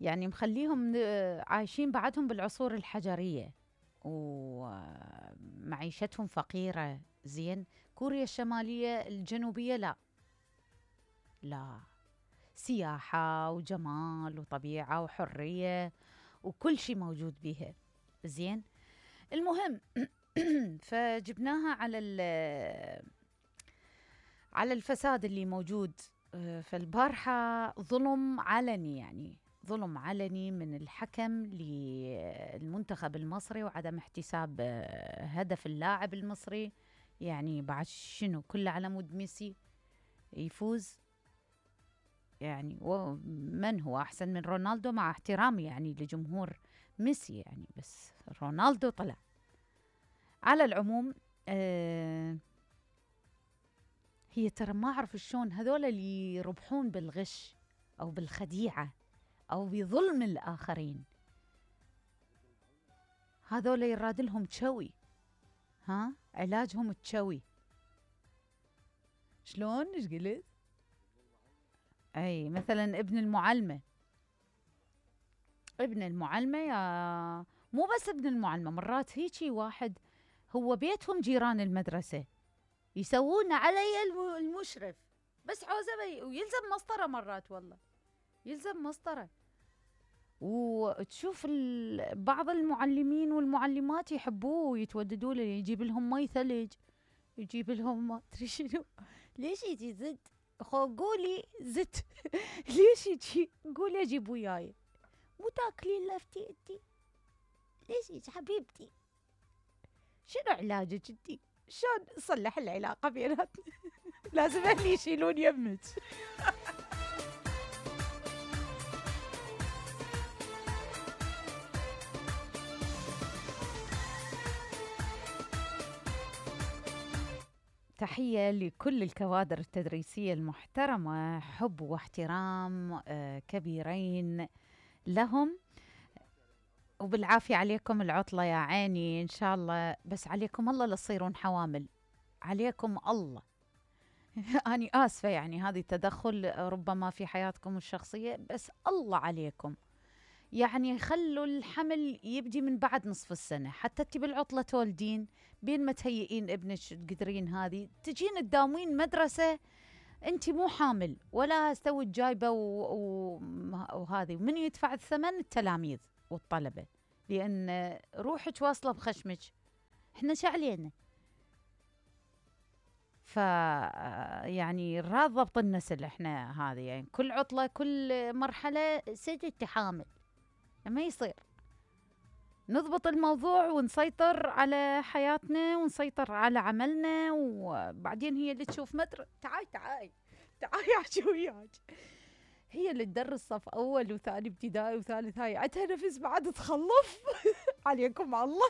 يعني مخليهم عايشين بعدهم بالعصور الحجرية ومعيشتهم فقيرة. زين، كوريا الشمالية الجنوبية لا، لا، سياحة وجمال وطبيعة وحرية وكل شيء موجود بيها. زين، المهم فجبناها على الفساد اللي موجود. فالبارحة ظلم علني، يعني ظلم علني من الحكم للمنتخب المصري وعدم احتساب هدف اللاعب المصري. يعني بعد شنو كله على مود ميسي يفوز؟ يعني ومن هو أحسن من رونالدو؟ مع احترامي يعني لجمهور ميسي يعني، بس رونالدو طلع. على العموم هي ترى ما أعرف شلون هذول اللي يربحون بالغش أو بالخديعة أو بظلم الآخرين، هذول يراد لهم تشوي، ها علاجهم تشوي. شلون؟ ايش قلت؟ أي مثلا ابن المعلمة، ابن المعلمة يا مو بس ابن المعلمة، مرات هيجي واحد هو بيتهم جيران المدرسة يسوون علي المشرف بس حوزة ويلزم مسطرة، مرات والله يلزم مسطرة. وتشوف بعض المعلمين والمعلمات يحبوه ويتوددوا له، يجيب لهم مي ثلج، يجيب لهم ما ادري شنو. ليش يجي زد؟ قولي زد ليش يجي؟ قولي اجيب وياي، مو تاكلين لفتي انتي؟ ليش يجي حبيبتي؟ شنو علاجك انتي؟ شلون نصلح العلاقة بيناتنا؟ لازم اهلي يشيلون يمك. تحية لكل الكوادر التدريسية المحترمة، حب واحترام كبيرين لهم، وبالعافية عليكم العطلة يا عيني إن شاء الله، بس عليكم الله لتصيرون حوامل، عليكم الله. أنا آسفة يعني هذه تدخل ربما في حياتكم الشخصية، بس الله عليكم يعني خلوا الحمل يبدي من بعد نصف السنة، حتى انتي بالعطلة تولدين بين ما تهيئين ابنك تقدرين هذه تجين تداومين مدرسة انتي مو حامل ولا استوي جايبة وهذه، ومن يدفع الثمن؟ التلاميذ والطلبة، لأن روحك واصلة بخشمك، احنا شعلينا. يعني راد ضبط النسل احنا هذه، يعني كل عطلة كل مرحلة سجدتي حامل، ما يصير. نضبط الموضوع ونسيطر على حياتنا ونسيطر على عملنا، وبعدين هي اللي تشوف تعاي احكي وياك، هي اللي تدرس صف اول وثاني ابتدائي وثالث، هاي عندها نفس بعد تخلف. عليكم الله.